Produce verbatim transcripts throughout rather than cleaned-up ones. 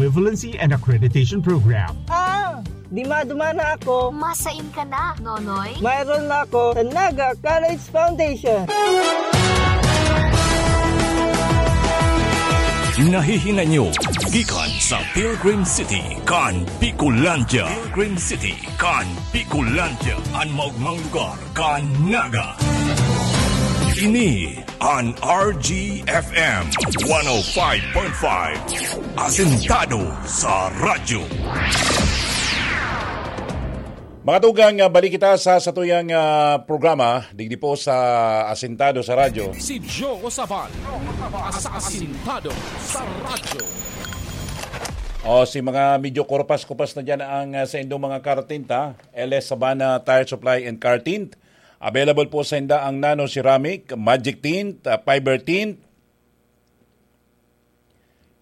Equivalency and Accreditation Program. Ah! Di madumana ako. Masain ka na, Nonoy? Mayroon na ako sa Naga College Foundation. Nahihinanyo gikan sa Pilgrim City kan Bicolandia. Pilgrim City kan Bicolandia. An maugmang lugar kan Naga. Ini an R G F M one oh five point five. Asentado sa Radyo. Mga tugang, ah, balik kita sa satuyang ah, programa, digdi po sa Asentado sa Radyo. Si Joe Sabal, sa Asintado sa Radyo. O, si mga medyo korpas-kupas na dyan ang ah, sa indong mga kartinta, L S Sabana Tire Supply and Car Tint. Available po sa inda ang nano ceramic, magic tint, ah, fiber tint.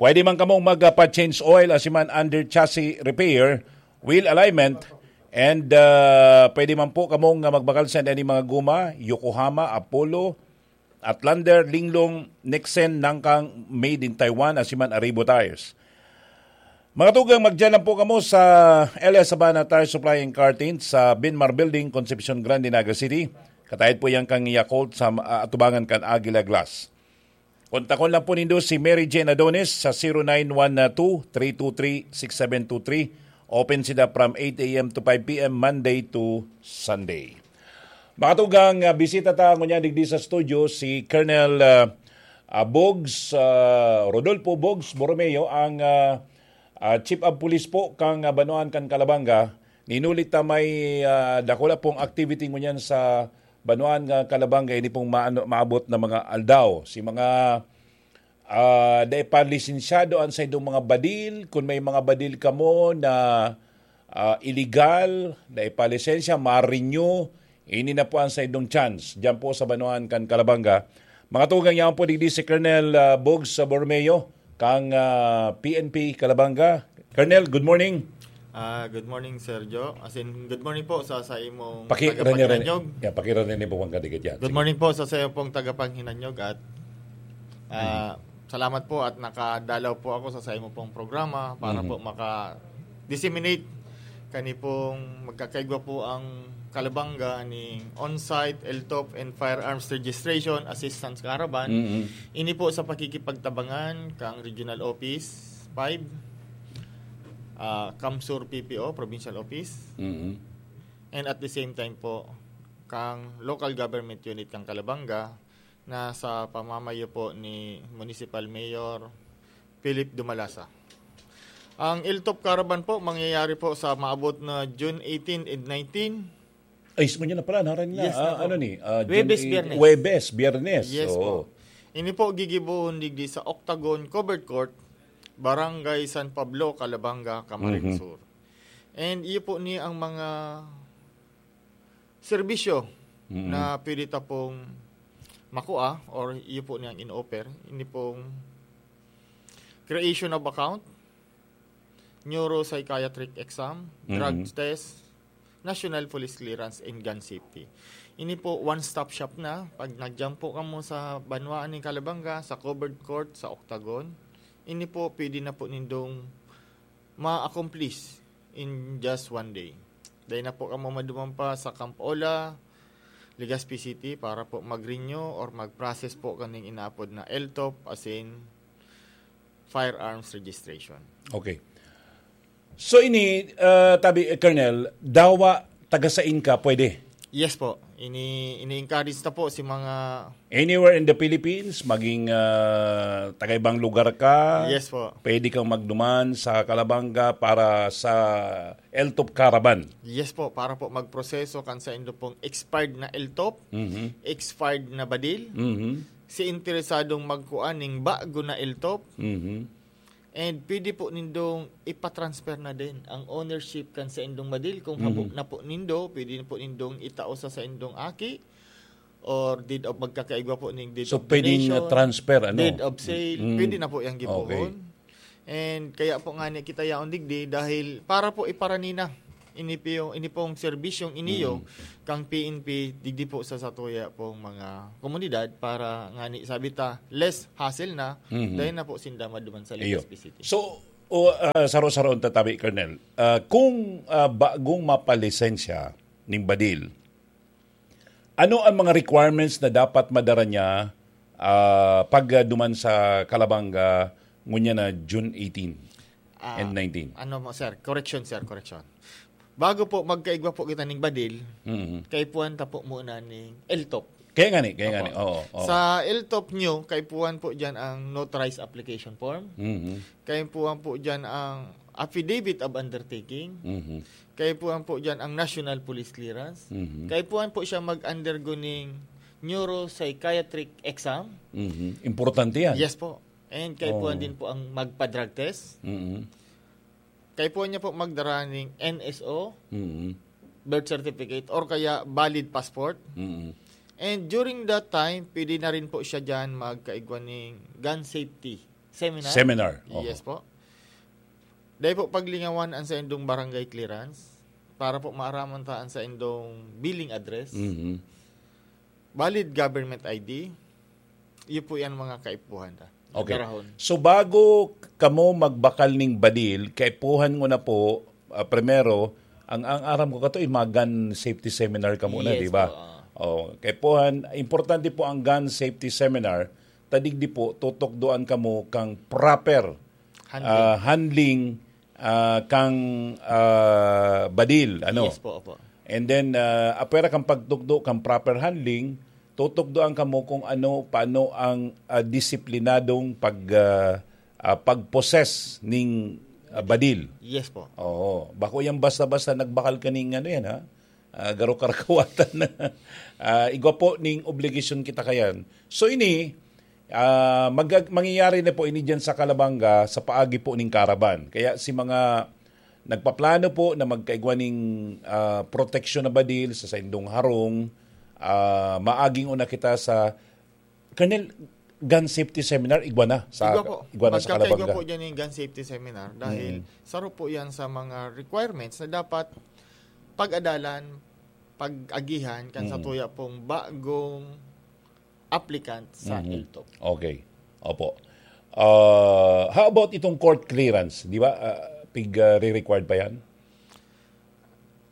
Pwede man kamong magpa-change oil, asiman under chassis repair, wheel alignment, and ah, pwede man po kamong ah, magbakal sa any mga guma, Yokohama, Apollo, Outlander, Linglong, Nexen, Nangkang, made in Taiwan, asiman Aribo Tires. Mga tugang, magdiyan lang po kamo sa L S Sabana Tire Supply and Car Tint sa Binmar Building, Concepcion Grande, Naga City. Katahid po yan kang Yakult sa ah, atubangan kan Agila Glass. Kontakon lang po nindo si Mary Jane Adonis sa zero nine one two, three two three, six seven two three. Open sila from eight a m to five p m, Monday to Sunday. Mga tugang, ah, bisita ta ngunyan digdi sa studio si Colonel ah, ah, Bogs, ah, Rodolfo Bogs Borromeo, ang ah, ah, Chief of Police po kang ah, Banwaan kan Calabanga. Ninulit ta may ah, dakula pong activity ngunyan sa Banwaan nga Calabanga, ini pong maano, maabot na mga aldaw. Si mga ah, dai pa lisensyado an saindong mga badil. Kun may mga badil kamo na ah, iligal, dai pa lisensya, ma-renew, ini na po ang saindong chance. Diyan po sa Banwaan kan Calabanga. Mga tugang, yaon po digdi si Colonel ah, Bogs sa Borromeo, kang ah, P N P Calabanga. Colonel, good morning. Ah, good morning, Sir Joe. As in, good morning po sa, sa imong Pakirani-rani. Tagapaghinanyog. Yeah, pakirani ni Bukang Kadigit yan. Good Sige. Morning po sa sayo pong tagapaghinanyog at ah, salamat po at nakadalaw po ako sa sayo pong programa para Mhm. po maka-disseminate kani pong magkakaigwa po ang Calabanga ning on-site L top and firearms registration assistance caravan. Mhm. Ini po sa pakikipagtabangan kang Regional Office five, ah, CamSur P P O, Provincial Office, Mhm. and at the same time po kang local government unit kang Calabanga na sa pamamayo po ni Municipal Mayor Philip Dumalasa. Ang L top Caravan po mangyayari po sa maabot na June eighteen and nineteen. Ay, ismo niya na pala, naran na. Yes, na Ah, po. ano ni? Ah, June Huwebes, eight, Biyernes. Huwebes, Biyernes. Yes Oo. po. Ini po gigibohon digdi sa Octagon Covered Court, Barangay San Pablo, Calabanga, Camarines Mhm. Sur. And iyo po ni ang mga serbisyo Mhm. na pwede ta pong makua or iyo po niyang in-offer. Ini pong creation of account, neuropsychiatric exam, drug Mhm. test, national police clearance, and gun safety. Ini po, one-stop shop na. Pag nag-jump po kamo sa banwaan ni Calabanga, sa covered court, sa Octagon, ini po, pwede na po nindong ma-accomplish in just one day. Dahil na po kamo maduman pa sa Camp Ola, Legazpi City para po mag-renew or mag-process po kaning inaapod na L top, as in firearms registration. Okay. So ini, uh, tabi, eh, Colonel, dawa tagasain ka, pwede? Yes po. Ini ini-encourage na po si mga Anywhere in the Philippines, maging uh, taga-ibang lugar ka, Yes po. Pwede kang magduman sa Calabanga para sa L top Caravan. Yes po, para po magproseso kan sa indo pong expired na L top, Mhm. expired na badil, Mhm. si interesadong magkuan ning bago na L top, Mhm. and pwede po nindong ipatransfer na din ang ownership kan sa indong badil. Kung habo na po nindo, pwede na po nindong itao sa sa indong aki or deed of magkakaigwa po ning deed So, of pwedeng, donation, uh, transfer, ano? deed of sale, Mm. pwede na po yang gibohon. Okay. And kaya po nga ni kita yaon digdi dahil para po iparanina ini po yung, ini pong serbisyong iniyo kang P N P digdi po sa satuya pong mga komunidad para nga ni sabi ta less hassle na Mhm. dahil na po sinda maduman sa Iyo. Legazpi City. So, O, ah, saro-saro ang tatabi, Colonel. Ah, kung, ah, bagong mapalisensya ning badil, ano ang mga requirements na dapat madara niya, ah, pag, ah, duman sa Calabanga ngunyan na June eighteen Ah, and nineteen? Ano mo, sir? Correction, sir. Correction. Bago po magkaigwa po kita ning badil, Mhm. kaipuhan ta po muna ning L top. Kaya nga ni, kaya nga Opo. ni. Oo, oo. Sa L top nyo, kaipuhan po dyan ang notarized application form. Mhm. Kaipuhan po dyan ang affidavit of undertaking. Mhm. Kaipuhan po dyan ang national police clearance. Mhm. Kaipuhan po siya mag-undergo ning neuropsychiatric exam. Mhm. Importante yan. Yes po. And kaipuhan Oo. din po ang magpa-drug test. Mhm. Kaipuhan niya po magdara ning N S O, Mhm. birth certificate, or kaya valid passport. Mhm. And during that time, pwede na rin po siya dyan magkaigwa ning gun safety seminar. Seminar. Oho. Yes po. Dahil po paglingawan ang sa indong barangay clearance para po maaraman ta ang sa indong billing address. Mhm. Valid government I D. Iyo po yan mga kaipuhan ta. Okay. Darahon. So, bago kamo magbakal ning badil, kaipuhan mo na po, ah, primero, ang, ang aram ko kato, yung mga gun safety seminar ka muna, Yes di ba? po, ah. Oh, kaipuhan, importante po ang gun safety seminar. Tadigdi po, tutukdoan kamo kang proper, Handling. ah, handling, ah, kang, ah, badil, ano? Yes po, opo. And then, ah, apwera kang pagtukdo kang proper handling, tutukdoan kamo kung ano, paano ang, ah, disiplinadong pag, ah, ah, pag-possess ning, ah, badil. Yes po. Oo. Bako yan basta-basta nagbakal ka ning ano yan, ha? Ah, garo karakawatan na. Ah, igwa po ning obligasyon kita kayan. So ini, ah, mag-, mangyayari na po ini dyan sa Calabanga, sa paagi po ning Caravan. Kaya si mga nagpaplano po na magkaigwa ning, ah, proteksyon na badil sa saindong harong, ah, maaging una kita sa, Colonel, gun safety seminar, igwa na sa, Igwa po. igwa na sa Magkakaigwa Calabanga. po dyan yung gun safety seminar dahil Mm. saro po yan sa mga requirements na dapat pag-adalan, pag-agihan kan sa Mm. tuya pong bagong applicant sa Mhm. L top. Okay. Opo. Ah, how about itong court clearance? Di ba, ah, pig, ah, re-required pa yan?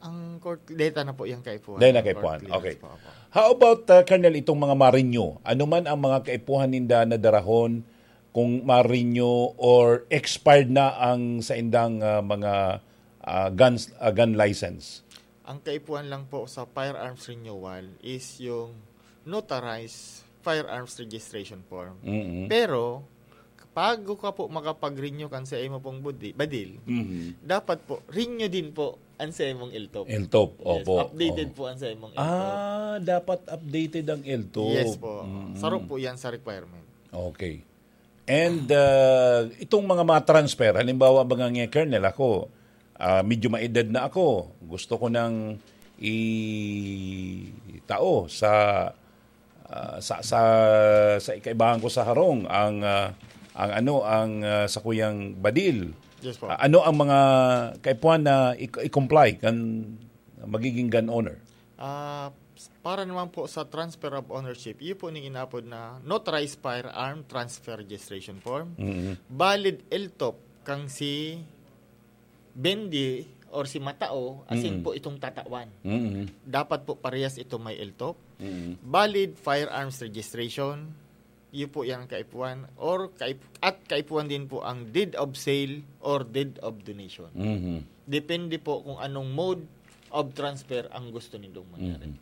Ang court, data na po yan kaipuhan. Dahil na Ang court kaipuhan. clearance Okay. po, opo. How about, ah, Colonel, itong mga ma-renew? Ano man ang mga kaipuhan ninda na darahon kung ma-renew or expired na ang saindang, ah, mga, ah, guns, ah, gun license? Ang kaipuhan lang po sa firearms renewal is yung notarized firearms registration form. Mm-mm. Pero, bago ka po makapag-renew kan sa imo pong budi-, badil, Mhm. dapat po, renew din po ang sa imong L top. L top, Yes, opo. updated Oh. po ang sa imong L top. Ah, dapat updated ang L top. Yes po. Mm-mm. Saro po yan sa requirement. Okay. And, ah, itong mga ma-transfer, halimbawa, mga nga, Colonel, ako, ah, medyo maedad na ako. Gusto ko nang itao sa, ah, sa, sa, sa ikaibahan ko sa harong ang, ah, ang ano, ang, ah, sakuyang badil. Yes po. Ah, ano ang mga kaipuhan na i-, i-comply kan magiging gun owner? Ah, para naman po sa transfer of ownership, iyo po ning inapod na notarized firearm transfer registration form. Mm. Valid L top kang si Bendy or si Matao, asin Mm. po itong tatawan. Mm. Dapat po parehas ito may L top. Mm. Valid firearms registration, iyo po yan ang kaipuhan. Or kaip-, at kaipuhan din po ang deed of sale or deed of donation. Mm. Depende po kung anong mode of transfer ang gusto nindong mangyari. Mm.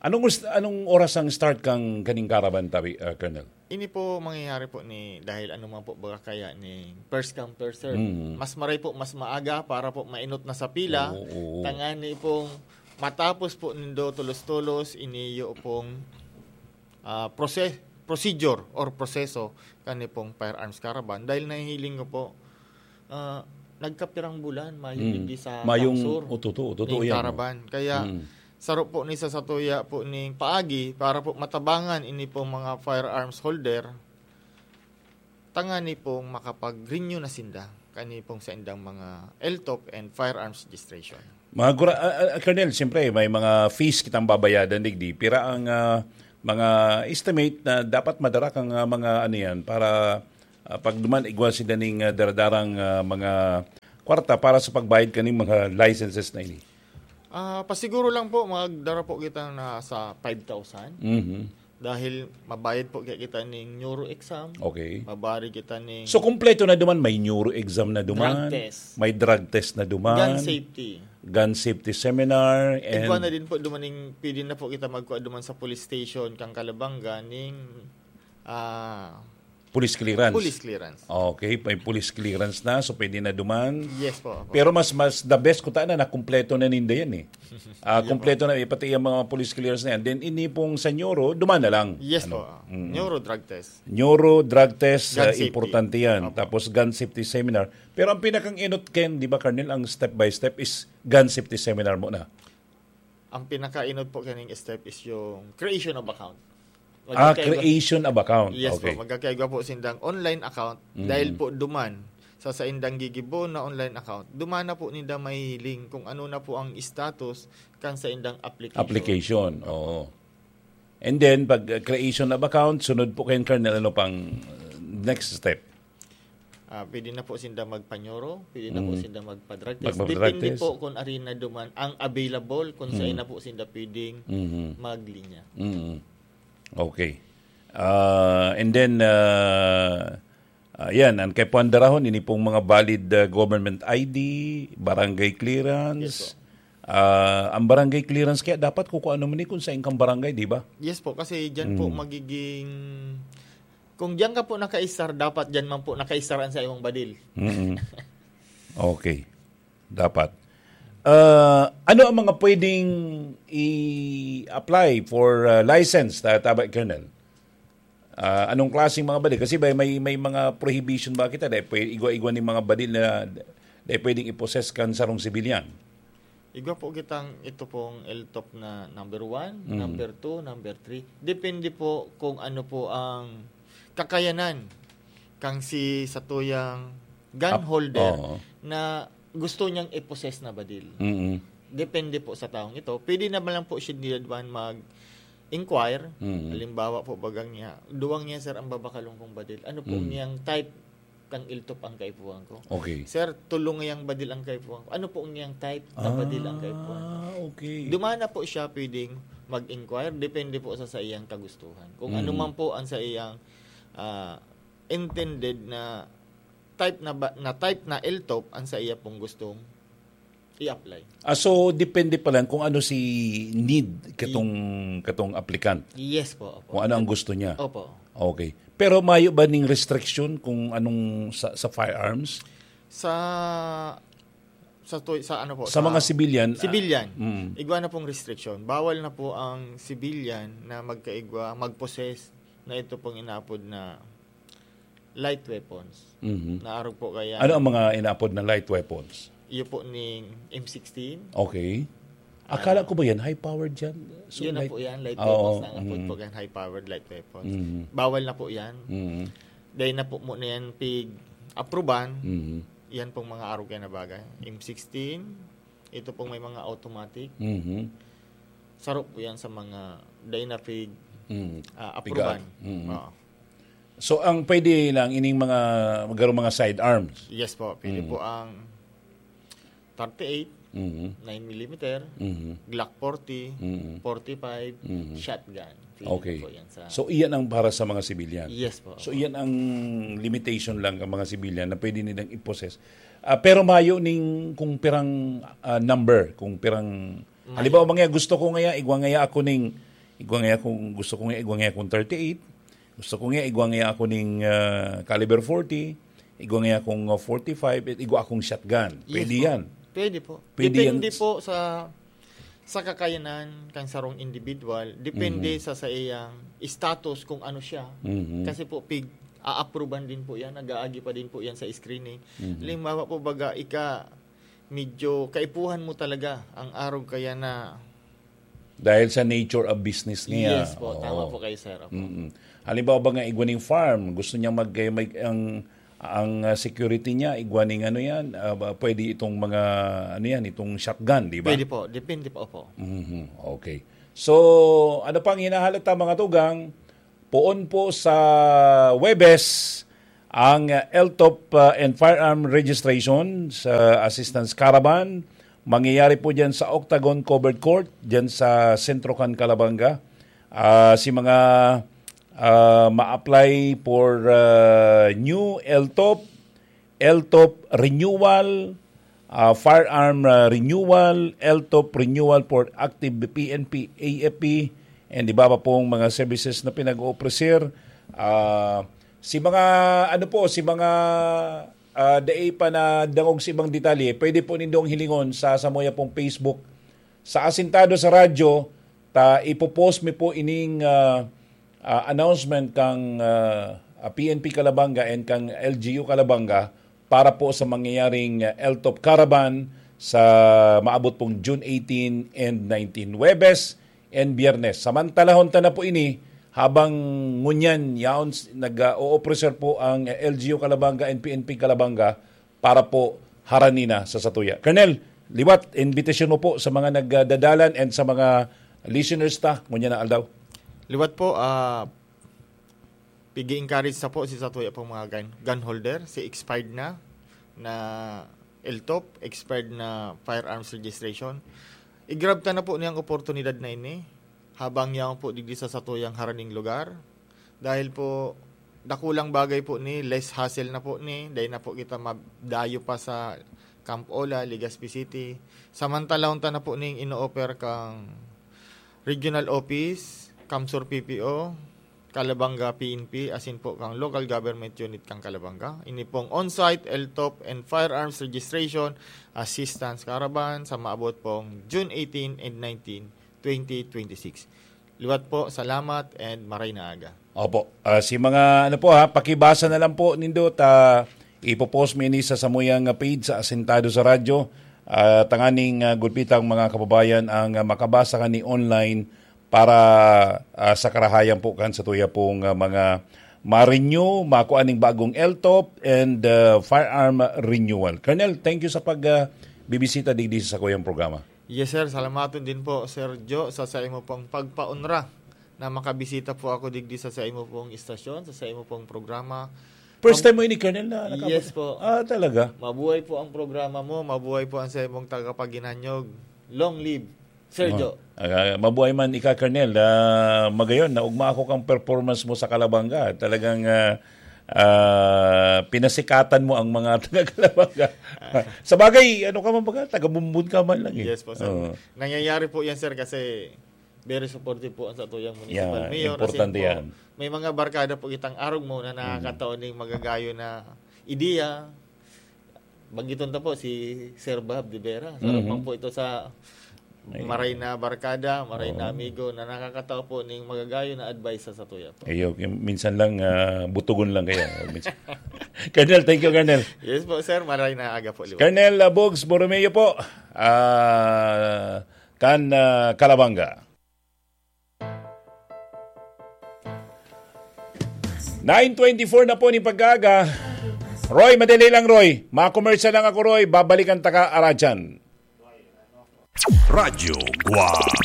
Anong gust-, anong oras ang start kang kaning caravan, tabi, ah, Colonel? Ini po mangyayari po ni, dahil ano man po baga kaya ni first come, first serve. Mm. Mas maray po, mas maaga para po mainot na sa pila. Oo, oo. Tangani pong matapos po nindo tulos-tulos, iniyo pong, ah, prose-, procedure or proseso kani pong firearms caravan. Dahil nahihiling ko po, ah, nagkapirang bulan, mayo Hmm. digdi sa Mayong Tangsur, ututo, ututo ning yan, caravan. Kaya, Hmm. saro po ni sa satuya po ning paagi para po matabangan ini pong mga firearms holder, tangani pong makapag-renew na sinda kani pong sa indang mga L top and firearms registration. Mga gura-, ah, ah, Colonel, siyempre, may mga fees kitang babayadan, digdi. Pira ang, ah, mga estimate na dapat madara kang, ah, mga ano yan para, Ah, pag duman, igwa sinda ning, ah, daradarang, ah, mga kwarta para sa pagbayad kaning mga licenses na ini. Ah, pasiguro lang po, magdara po kita na sa five thousand. Mhm. Dahil mabayad po kaya kita ning neuro exam. Okay. Mabayad kita ning So, kompleto na duman. May neuro exam na duman. Drug test. May drug test na duman. Gun safety. Gun safety seminar. And Igwa na din po dumaning, pwede na po kita magkuha duman sa police station, kang Calabanga, ning ah, police clearance. Police clearance. Okay, may police clearance na, so pwede na duman. Yes po. Opo. Pero mas mas the best ko na nakumpleto na ninda yan eh. Ah, Yun kumpleto na eh, pati yung mga police clearance na yan. Then ini pong sa neuro, duman na lang. Yes Ano? po. Neuro drug test. Neuro drug test, Gun ah, safety. Importante yan. Opo. Tapos gun safety seminar. Pero ang pinakang inot, Ken, di ba, Colonel, ang step by step is gun safety seminar muna. Ang pinaka-inot po kaning step is yung creation of account. Ah, Magkakaiba- creation of account. Yes Okay. Po. Magkakaigwa po sindang online account Mm. dahil po duman sa saindang gigibo na online account. Duman na po ninda mahiling kung ano na po ang status kan saindang application. Application, oo. And then, pag uh, creation of account, sunod po kayo, Colonel, ano pang uh, next step? Ah, pwede na po sinda magpa-neuro, pwede na po Mm. sinda magpa-drug test. Magpa-drug Depende test. Po kung arin na duman ang available, kung Mm. saan na po sinda pwedeng Mhm. maglinya. Mm. Okay. Uh, and then, uh, uh, yan, ang kay Puan Darahon, ini pong mga valid uh, government I D, barangay clearance. Yes po. Ah, ang barangay clearance kaya dapat kukuha naman ni kung saan kang barangay, di ba? Yes po, kasi dyan po Mm. magiging... Kung dyan ka po nakaisar, dapat dyan man po nakaisar ang sa imong badil. Mm-mm. Okay. Dapat. Ah, ano ang mga pwedeng i-apply for uh, license, ta- tama, Colonel? Ah, anong klaseng mga badil? Kasi may, may, may mga prohibition ba kita? Dahil pwede, igwa-igwa ni mga badil na dahil pwedeng i-possess kan sarong sibilyan. Igwa po kitang ito pong L top na number one, Mm. number two, number three. Depende po kung ano po ang kakayanan kang si satuyang gun Ap- holder Oo. na gusto niyang i-possess na badil. Mm-mm. Depende po sa taong ito. Pwede naman lang po siya nila duman mag-inquire. Mm. Halimbawa po, bagang niya, duwang niya, sir, ang babakalong kong badil. Ano po Mm. niyang type kang L top ang kaipuhan ko? Okay. Sir, tulong niyang badil ang kaipuhan ko. Ano po niyang type na badil ang kaipuhan ko? Ah, okay. Dumana po siya pwedeng mag-inquire, depende po sa, sa iyang kagustuhan. Kung Mm. ano man po ang sa iyang ah, intended na type na ba, na type na L top ang sa iya pong gustong i-apply. Ah, so, depende pa lang kung ano si need katong, katong applicant. Yes po. Opo. Kung ano ang gusto niya. Opo. Okay. Pero mayo ba ning restriction kung anong sa, sa firearms? Sa sa to, sa ano po? Sa mga civilian, ah, Civilian. Mm. Igwa na pong restriction. Bawal na po ang civilian na magkaigwa, mag-possess na ito pong inapod na light weapons. Mhm. Na arog po kaya Ano ang mga inaapod na light weapons? Iyo po ning M sixteen. Okay. Akala ko ba yan? High powered yan? So, Yun na light- po yan, light Oo, weapons na ang apod mm. po yan, high powered light weapons. Mhm. Bawal na po yan. Mhm. Dahil na po mo na yan pig-aproban, Mhm. yan pong mga arog yan na bagay. M sixteen, ito pong may mga automatic, Mhm. saro po yan sa mga dahil na pig Mhm. ah, aproban. Piga-, mhm. Oo. So, ang pwede lang ining mga, magkaroon mga sidearms. Yes po, pwede Mm. po ang thirty-eight, Mhm. nine millimeter, Mhm. Glock forty, Mm. forty-five, Mm. shotgun. Pwede Okay. po yan sa... So, iyan ang para sa mga civilian. Yes po. So, iyan ang limitation lang ang mga civilian na pwede nilang i-possess. Ah, pero mayo ning kung pirang ah, number, kung pirang... Mayo. Halimbawa, mga gusto ko ngaya, igwa ngaya ako ning, igwa ngaya kung gusto ko ngaya, igwa ngaya akong thirty-eight, gusto ko ngaya, igwa ngaya ako ning ah, caliber forty, igwa ngaya akong ah, forty-five, at igwa akong shotgun. Yes Pwede po. yan. Pwede po. Pwede Depende yan. Po sa sa kakayanan kan sarong individual, depende Mhm. sa sa iyang status kung ano siya. Mhm. Kasi po pig aapruban din po yan, nag-aagi pa din po yan sa screening. Mhm. Halimbawa po baga ika medyo kaipuhan mo talaga ang arog kaya na Dahil sa nature of business niya. Yes po, tama po kayo, sir. Opo. Mm-mm. Halimbawa ba nga igwa ning farm, gusto niya mag, mag ang ang uh, security niya igwa ning ano yan, uh, ba- pwede itong mga ano yan, itong shotgun, di ba? Pwede po, depende po po. Mhm. Okay. So, ano pang hinahalata, mga tugang? Poon po sa Webes, Ang, uh, L T O P, uh, and firearm registration sa Assistance Caravan, mangyayari po dyan sa Octagon Covered Court, dyan sa sentro kan Calabanga. Ah, si mga, ah, ma-apply for, ah, new L T O P, L T O P renewal, ah, firearm, ah, renewal, L T O P renewal for active P N P, A F P, and iba pa pong mga services na pinag-o-offer. Ah, si mga, ano po, si mga, ah, dai pa na dangog sa ibang detalye, pwede po nindong hilingon sa samuya pong Facebook. Sa Asintado sa Radyo, ta ipopost mi po ining, ah, ah, announcement kang, ah, ah, P N P Calabanga and kang L G U Calabanga para po sa mangyayaring, ah, L T O P Caravan sa maabot pong June eighteen and nineteen, Huwebes and Biyernes. Samantalahon ta na po ini, habang ngunyan, yaon s-, nag, ah, o-offer po ang, ah, L G U Calabanga and P N P Calabanga para po harani na sa satuya. Colonel, liwat, invitation mo po sa mga nagdadalan and sa mga listeners ta, ngunyan na aldaw. Liwat po, ah, pigi-encourage sa po si satuya pong mga gun, gun holder, si expired na, na L T O P, expired na firearms registration. I-grab ta na po niyang oportunidad na ini, habang yaon po digdi sa satuyang haraning lugar. Dahil po, dakulang bagay po ni, less hassle na po ni, dahil na po kita madayo pa sa Camp Ola, Legazpi City. Samantalahon ta na po ning ino-offer kang regional office, CamSur P P O, Calabanga P N P, asin po kang local government unit kang Calabanga. Ini pong on-site, L T O P, and firearms registration, assistance caravan sa maabot pong June eighteen and nineteen, twenty twenty-six. Liwat po, salamat and maray na aga. Opo. Ah, si mga, ano po ha, pakibasa na lang po nindo, ta ipopost mi ini sa samuyang page sa Asintado sa Radyo. Ah, tanganing, ah, gulpitang mga kababayan ang, ah, makabasa kani online para, ah, sa karahayan po kan satuya pong, ah, mga ma-renew, makuha ning bagong L T O P and, ah, firearm renewal. Colonel, thank you sa pag, ah, bibisita digdi sa sakuyang programa. Yes, sir. Salamaton din po, Sir Jo, sa saimo pong pagpaonra na makabisita po ako digdi sa saimo pong istasyon, sa saimo pong programa. First Mab- time mo ini, Colonel, na nakabot? Yes po. Ah, talaga? Mabuhay po ang programa mo, mabuhay po ang saimong tagapaghinanyog. Long live, Sir Oh. Jo. Ah, mabuhay man ika, Colonel. Ah, magayon, naugma ako kang performance mo sa Calabanga. Talagang, ah, ah, pinasikatan mo ang mga taga-Calabanga. Sa bagay, ano ka man baga? Taga-Bumbon ka man lang eh. Yes po, sir. Oo. Nangyayari po yan, sir, kasi very supportive po ang satuyang municipal Yeah, mayor. As in importante po, yan. may mga barkada po kitang arog mo na Mm. nakakataon ning magagayon na ideya. Banggiton ta po si Sir Bob de Vera. Sarap Mhm. man po ito sa Ayun. maray na barkada, maray na Oo. amigo na nakakataw po ning magagayon na advice sa satuya po. Iyo, yung minsan lang, ah, butugon lang kaya. Minsan. Colonel, thank you, Colonel. Yes po, sir. Maray na aga po, liwanag. Colonel, ah, Bugs Borromeo po, ah, kan, ah, Calabanga. Nine twenty-four na po ni pag-aaga. Roy, madali lang, Roy. Mga commercial lang ako, Roy. Babalikan ta ka, aradyan. Radyo Guwang.